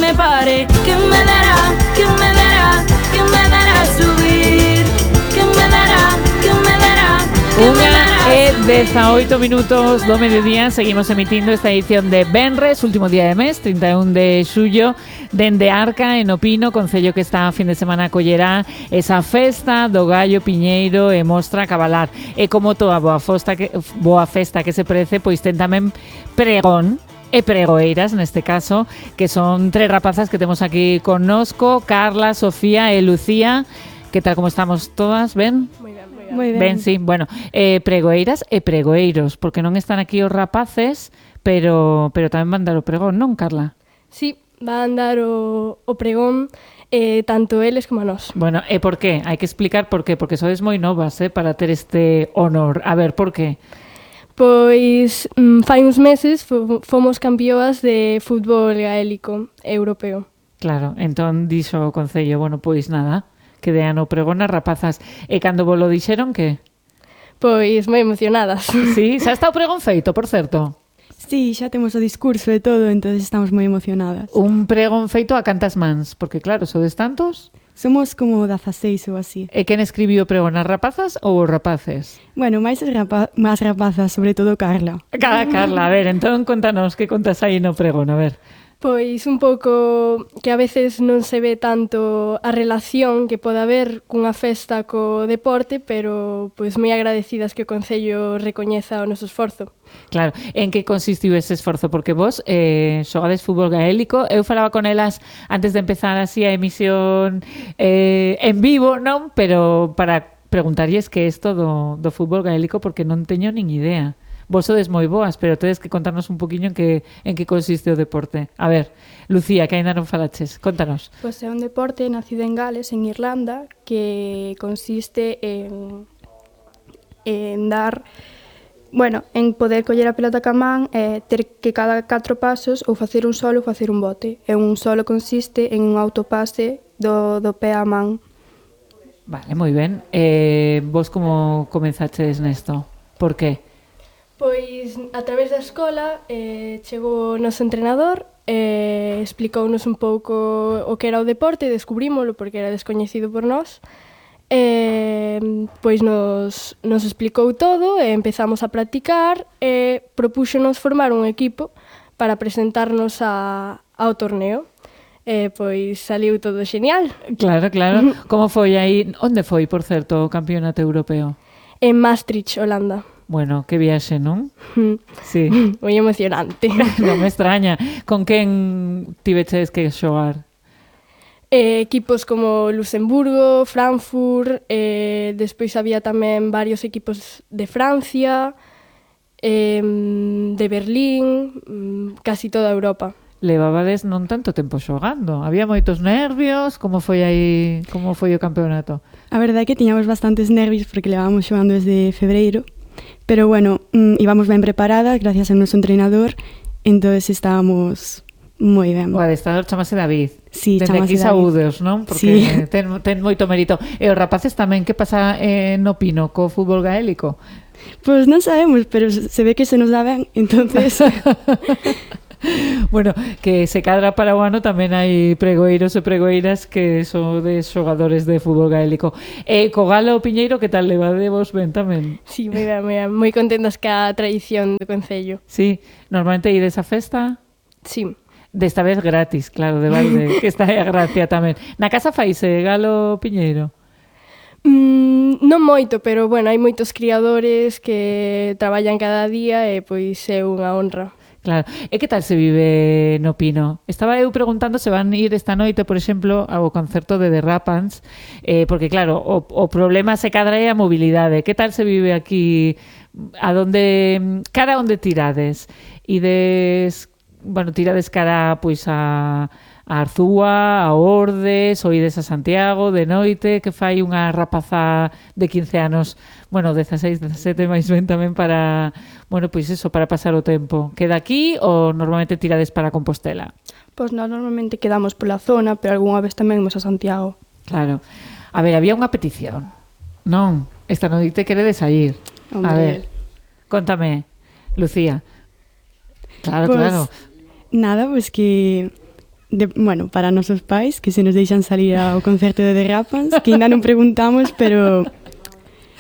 me pare, que me dará, que me dará, que me dará subir, que me dará, que me dará, que me dará. 18 minutos do mediodía. Seguimos emitindo esta edición de Venres, último día de mes, 31 de xullo, dende Arca, en Opino, concello que está a fin de semana acollerá esa festa do Gallo Piñeiro e mostra cabalar. E como toda boa festa que se prece, pois ten tamén pregón e pregoeiras, neste caso, que son tres rapazas que temos aquí connosco, Carla, Sofía e Lucía. Que tal, como estamos todas? Ben? Moi ben. Ben, sí, bueno, pregoeiras e pregoeiros, porque non están aquí os rapaces, pero tamén van dar o pregón, non, Carla? Sí, van dar o pregón tanto eles como a nós. Bueno, e por qué? Hai que explicar por qué, porque sodes moi novas, para ter este honor. A ver, por qué? Pois fai uns meses fomos campeoas de fútbol gaélico europeo. Claro, entón dixo o concello, bueno, pois nada, que dean o pregón as rapazas. E cando vos lo dixeron, que? Pois moi emocionadas. Sí, xa está o pregón feito, por certo. Sí, xa temos o discurso e todo, entonces estamos moi emocionadas. Un pregón feito a cantas mans, porque claro, sodes tantos. Somos como 16 ou así. E quen escribiu o pregón, as rapazas ou os rapaces? Bueno, máis rapazas, sobre todo Carla. Carla, a ver, entón contanos, que contas aí no pregón, a ver. Pois un pouco que a veces non se ve tanto a relación que pode haber cunha festa co deporte, pero pois moi agradecidas que o Concello recoñeza o noso esforzo. Claro, en que consistiu ese esforzo? Porque vos xogades fútbol gaélico, eu falaba con elas antes de empezar así a emisión en vivo, non? Pero para preguntarlles que isto do fútbol gaélico, porque non teño nin idea. Vos sodes moi boas, pero tedes que contarnos un poquinho en que consiste o deporte. A ver, Lucía, que aínda non falaches, contanos. Pois é un deporte nacido en Gales, en Irlanda, que consiste en dar, bueno, en poder coller a pelota ca man e ter que cada 4 pasos ou facer un solo ou facer un bote. E un solo consiste en un autopase do pé á man. Vale, moi ben. Vos como comenzaches nesto? Por qué? Pois a través da escola chegou o noso entrenador e explicounos un pouco o que era o deporte e descubrímolo porque era descoñecido por nós. Pois nos explicou todo e empezamos a practicar e propúxonos formar un equipo para presentarnos ao torneo. Pois saliu todo genial. Claro. Como foi aí? Onde foi, por certo, o campeonato europeo? En Maastricht, Holanda. Bueno, que viaxe, non? Sí. Moi emocionante. Non me extraña. Con quen tiveches que xogar? Equipos como Luxemburgo, Frankfurt, despois había tamén varios equipos de Francia, de Berlín, casi toda Europa. Levabades non tanto tempo xogando. Había moitos nervios. Como foi aí? Como foi o campeonato? A verdade é que tiñamos bastantes nervios porque levábamos xogando desde febreiro. Pero bueno, íbamos ben preparadas gracias ao noso entrenador, entonces estábamos moi ben. O adestrador chamase David. Sí, desde chamase aquí David. saúdos, non? Porque sí. ten moito mérito. E os rapaces tamén, que pasa no Pino co fútbol gaélico? Pois non sabemos, pero se ve que se nos dá ben, entonces... Bueno, que se cadra para o ano tamén hai pregoeiros e pregoeiras que son de xogadores de fútbol gaélico. E co Galo Piñeiro, que tal levadevos ben tamén? Sí, moi contentas ca tradición do Concello. Sí, normalmente ides a festa? Sí. Desta vez gratis, claro, de balde, que está aí a gracia tamén. Na casa faise Galo Piñeiro? Non moito, pero bueno, hai moitos criadores que traballan cada día e pois é unha honra. Claro. E que tal se vive no Pino? Estaba eu preguntando se van ir esta noite, por exemplo, ao concerto de The Rapans, porque claro, o problema se cadra é a mobilidade. Que tal se vive aquí? Cara onde tirades? Tirades cara pois a Arzúa, a Ordes, ou ides a Santiago de noite, que fai unha rapaza de 15 anos, 16, 17 máis ben tamén para, pois eso, para pasar o tempo. Queda aquí ou normalmente tirades para Compostela? Pois nós normalmente quedamos pola zona, pero algunha vez tamén imos a Santiago. Claro. A ver, había unha petición, non? Esta noite queredes sair. Hombre. A ver, contame, Lucía. Claro. Nada, pues que bueno, para nosos pais, que se nos deixan salir ao concerto de The Rapans, que ainda non preguntamos, pero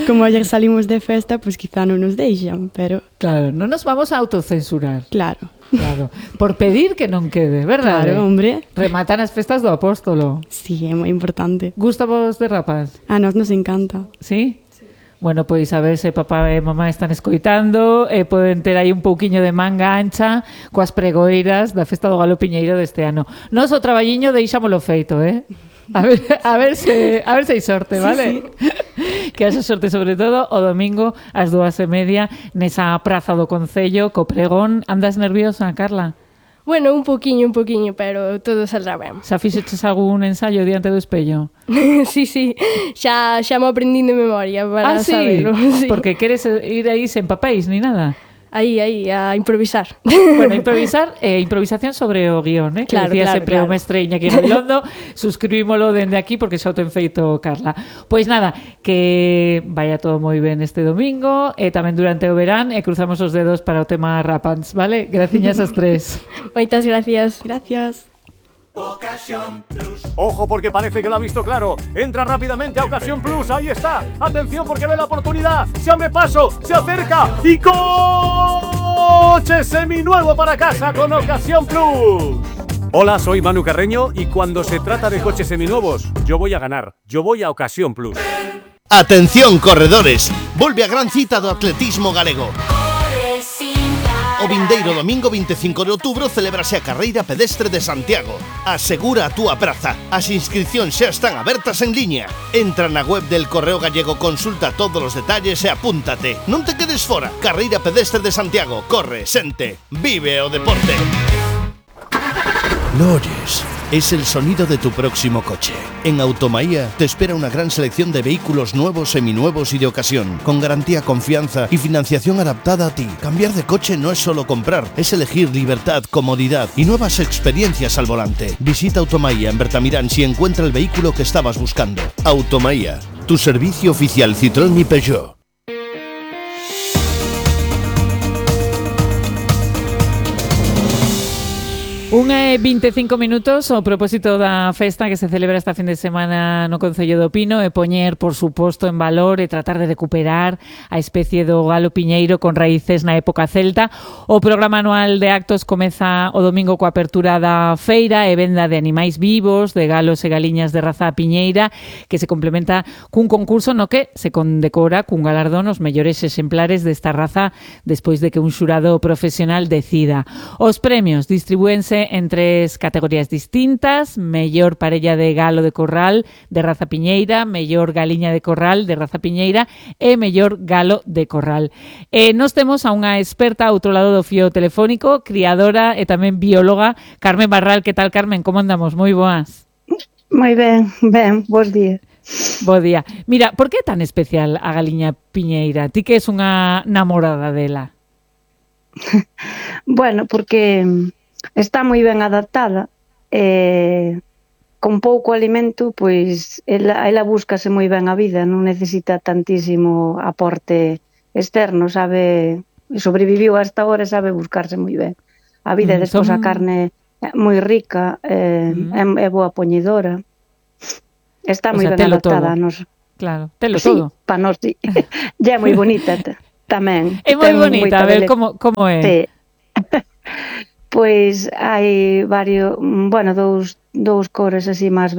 como ayer salimos de festa, pues quizá non nos deixan, pero... Claro, non nos vamos a autocensurar. Claro. Claro, por pedir que non quede, verdade? Claro, hombre. Rematan as festas do Apóstolo. Sí, é moi importante. Gusta vos de Rapaz? A nós nos encanta. Sí? Bueno, pois a ver se papá e mamá están escoitando e poden ter aí un pouquiño de manga ancha coas pregoeiras da festa do Galo Piñeiro deste ano. Nos o traballiño deixámolo feito, A ver se hai sorte, vale? Sí. Que haxa sorte sobre todo o domingo ás 2:30 nesa praza do Concello co pregón. Andas nerviosa, Carla? Bueno, un poquinho, pero todo saldrá ben. Xa fixeches algún ensayo diante do espello? Sí, xa me aprendín de memoria para saberlo. Sí? Porque queres ir aí sen papéis ni nada? Aí, a improvisar. Bueno, improvisación sobre o guión, que claro, decía claro, sempre o mestre Iñaki Gabilondo. Suscribímolo dende aquí porque xa o ten feito Carla. Pois nada, que vaya todo moi ben este domingo e tamén durante o verán e cruzamos os dedos para o tema Rapans, vale? Graciñas as tres. Moitas gracias. Gracias. Ocasión Plus. Ojo porque parece que lo ha visto claro. Entra rápidamente a Ocasión Plus. Ahí está. Atención porque ve la oportunidad. Se abre paso. Se acerca. Y coche seminuevo para casa con Ocasión Plus. Hola, soy Manu Carreño y cuando se trata de coches seminuevos, yo voy a ganar. Yo voy a Ocasión Plus. Atención, corredores. Volve a gran cita do atletismo galego. O vindeiro domingo 25 de outubro celebrase a carreira pedestre de Santiago. Asegura a túa praza. As inscripcións xa están abertas en liña. Entra na web del Correo Gallego, consulta todos os detalles e apúntate. Non te quedes fora. Carreira pedestre de Santiago. Corre, sente, vive o deporte. ¿Lo oyes? Es el sonido de tu próximo coche. En Automaía te espera una gran selección de vehículos nuevos, seminuevos y de ocasión, con garantía, confianza y financiación adaptada a ti. Cambiar de coche no es solo comprar, es elegir libertad, comodidad y nuevas experiencias al volante. Visita Automaía en Bertamirán y encuentra el vehículo que estabas buscando. Automaía, tu servicio oficial Citroën y Peugeot. 1:25 ao propósito da festa que se celebra esta fin de semana no Concello do Pino e poñer, por suposto, en valor e tratar de recuperar a especie do galo piñeiro con raíces na época celta. O programa anual de actos comeza o domingo coa apertura da feira e venda de animais vivos, de galos e galiñas de raza piñeira, que se complementa cun concurso no que se condecora cun galardón os mellores exemplares desta raza despois de que un xurado profesional decida. Os premios distribúense en 3 categorías distintas: mellor parella de galo de corral de raza piñeira, mellor galiña de corral de raza piñeira e mellor galo de corral. Nos temos a unha experta ao outro lado do fío telefónico, criadora e tamén bióloga, Carmen Barral. Que tal, Carmen? Como andamos? Moi boas. Moi ben, bos días. Bo día. Mira, por que é tan especial a galiña piñeira? Ti que és unha namorada dela? Bueno, porque está moi ben adaptada, con pouco alimento, pois ela búscase moi ben a vida, non necesita tantísimo aporte externo, sabe, sobreviviu hasta ahora e sabe buscarse moi ben a vida. Despois a carne moi rica, é boa poñedora, está moi ben adaptada a nos. Claro, telo sí, todo. Pa nos, sí. Ya é moi bonita tamén. É moi bonita, a ver como é. Sí. Pois hai dous cores así máis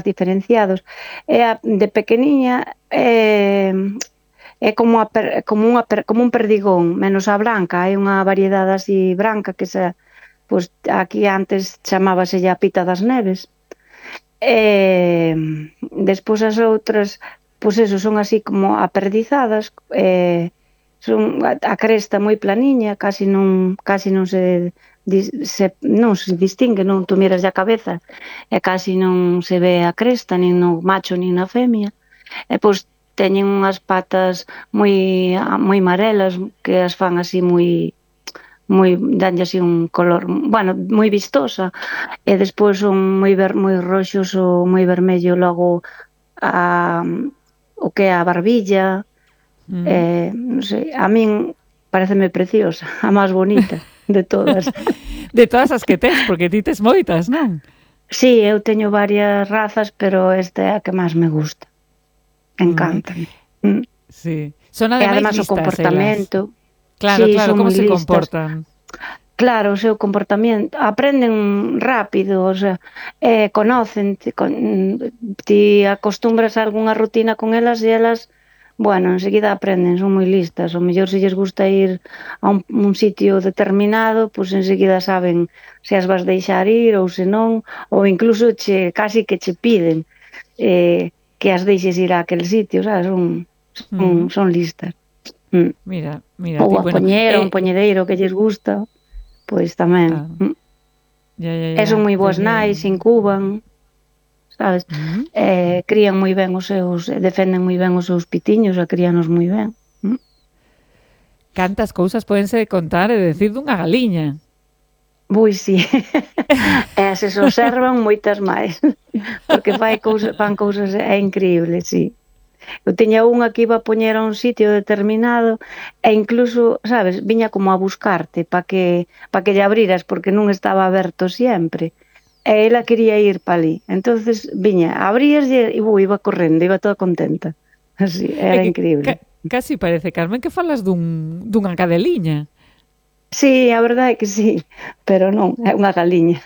diferenciados. De pequeniña é como un perdigón, menos a branca. Hai unha variedade así branca que pois aquí antes chamábase a pita das neves. Despois as outras, pois eso, son así como aperdizadas, son a cresta moi planiña, casi non se distingue, non, tú miras a cabeza e casi non se ve a cresta, nin no macho nin na femia. E pois teñen unhas patas moi amarelas que as fan así danlle así un color, bueno, moi vistosa, e despois son moi roxos ou moi vermello logo o que é a barbilla. Non sei, a min pareceme preciosa, a máis bonita de todas. De todas as que tes, porque ti tes moitas, non? Sí, eu teño varias razas, pero esta é a que máis me gusta. Encantan. Sí. Son E ademais además o listas comportamento. Claro, Sí, claro, son como moi se listas. comportan. Claro, o seu comportamento, aprenden rápido, o sea, conocen, ti acostumbras a algunha rutina con elas e elas, bueno, enseguida aprenden, son moi listas. O mellor se lles gusta ir a un sitio determinado, pois enseguida saben se as vas deixar ir ou se non, ou incluso casi que che piden que as deixes ir a aquel sitio, sabes? Son listas. Mira, Ou ti, a bueno, poñera, un poñedeiro que lles gusta. Pois tamén. E son moi boas nais, incuban, sabes? Crían moi ben defenden moi ben os seus pitiños, críanos moi ben. Cantas cousas pódense contar e decir dunha galiña. Ui, sí. E se observan moitas máis. Porque fan cousas, é increíble, sí. Eu tiña unha que iba a poñer a un sitio determinado e incluso, sabes, viña como a buscarte para que lle abriras porque non estaba aberto sempre. E ela quería ir para ali. Entonces viña, abrías e iba correndo, iba toda contenta. Así, era increíble. Casi parece, Carmen, que falas dunha cadeliña. Sí, a verdade é que sí, pero non, é unha galiña.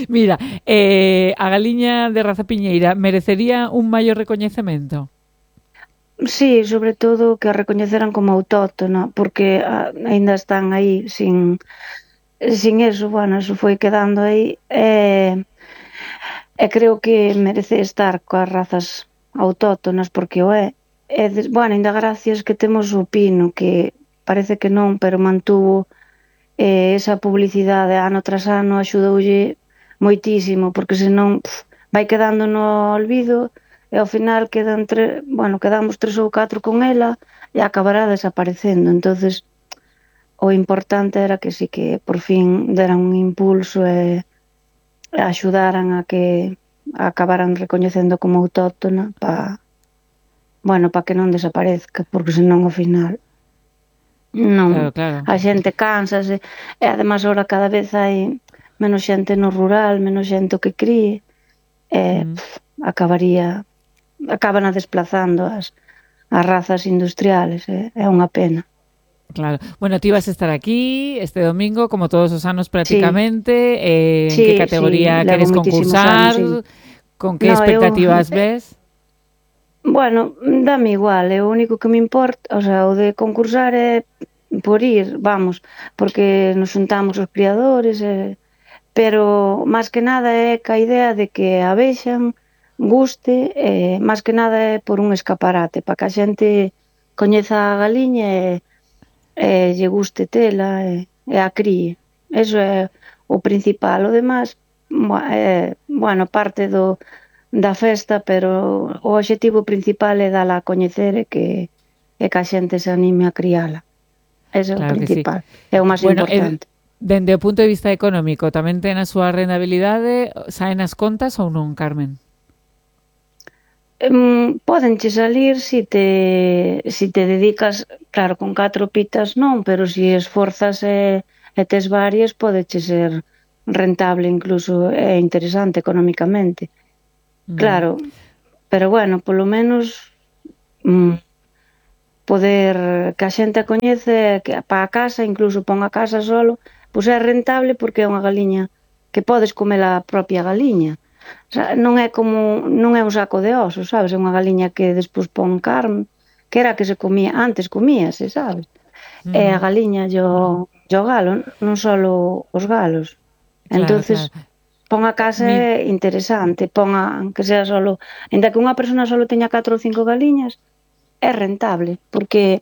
Mira, a galiña de raza piñeira merecería un maior recoñecemento? Sí, sobre todo que a recoñeceran como autóctona, porque aínda están aí sin eso, bueno, eso foi quedando aí e creo que merece estar coas razas autóctonas porque o é. Bueno, aínda gracias que temos o pino, que parece que non, pero mantuvo esa publicidade ano tras ano, axudoulle moitísimo, porque senón vai quedando no olvido e ao final quedamos 3 ou 4 con ela e acabará desaparecendo. Entonces o importante era que sí que por fin deran un impulso e axudaran a que acabaran recoñecendo como autóctona para que non desaparezca, porque senón ao final non, claro. A xente cánsase e ademais ahora cada vez hai menos xente no rural, menos xente que críe e acaban desplazando as razas industriales, é unha pena. Claro. Bueno, ti vas a estar aquí este domingo, como todos os anos prácticamente. En que categoría queres concursar? Con que expectativas ves? Bueno, dame igual, o único que me importa, o sea, o de concursar é por ir, vamos, porque nos xuntamos os criadores, pero máis que nada é ca idea de que a vexan, guste, máis que nada é por un escaparate, para que a xente coñeza a galiña e lle guste tela e a críe. Eso é o principal. O demais, parte da festa, pero o obxectivo principal é dala a coñecer e que a xente se anime a criala. Ese é o principal, é o máis importante. Dende o punto de vista económico, tamén ten a súa rentabilidade, saen as contas ou non, Carmen? Pódenche salir se te dedicas, claro, con 4 pitas non, pero se esforzas e tes varias, podeche ser rentable incluso e interesante económicamente. Claro, pero bueno, polo menos poder que a xente a coñece, que para a casa, incluso pon a casa solo, pois é rentable porque é unha galiña que podes comer a propia galiña. O sea, non é un saco de osos, sabes? É unha galiña que despois pon carne, que era a que se comía, antes comíase, sabes? E a galiña e o galo, non só os galos. Entonces, pon a casa é interesante, que sea solo, ainda que unha persona solo teña 4 ou 5 galiñas, é rentable, porque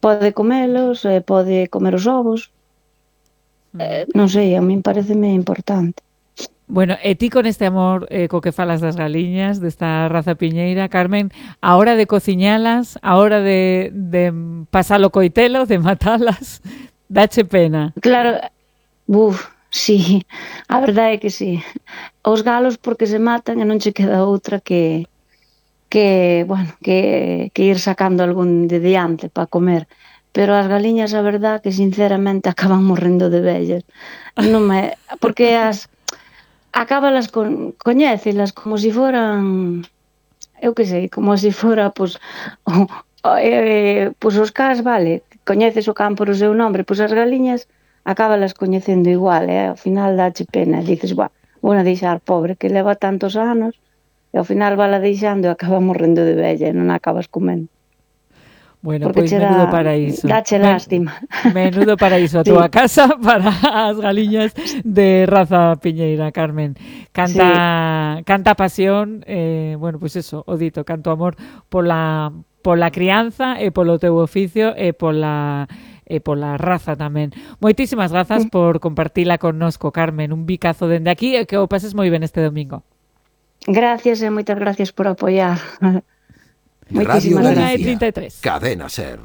pode comelos, pode comer os ovos, non sei, a min pareceme importante. Bueno, e ti con este amor co que falas das galiñas, desta raza piñeira, Carmen, a hora de cociñalas, a hora de pasalo coitelo, de matalas, dache pena? Claro, sí, a verdade é que sí. Os galos porque se matan e non che queda outra que ir sacando algún de diante para comer. pero as galiñas, a verdad, que sinceramente acaban morrendo de vellas. Porque acábalas coñécelas como se foran, eu que sei, como se fora, pois os cas, vale, coñeces o can por o seu nombre, pois as galiñas acábalas coñecendo igual, ao final dache pena, dices, vou a deixar pobre, que leva tantos anos, e ao final vala deixando e acaba morrendo de vella e non acabas comendo. Bueno, pois menudo paraíso. Dache lástima. Menudo paraíso a túa casa para as galiñas de raza piñeira, Carmen. Canta pasión, bueno, pois eso, o dito, canto amor pola crianza e polo teu oficio e pola raza tamén. Moitísimas grazas por compartila connosco, Carmen. Un bicazo dende aquí e que o pases moi ben este domingo. Gracias e moitas gracias por apoiar. Radio Moitísimas gracias. Cadena SER.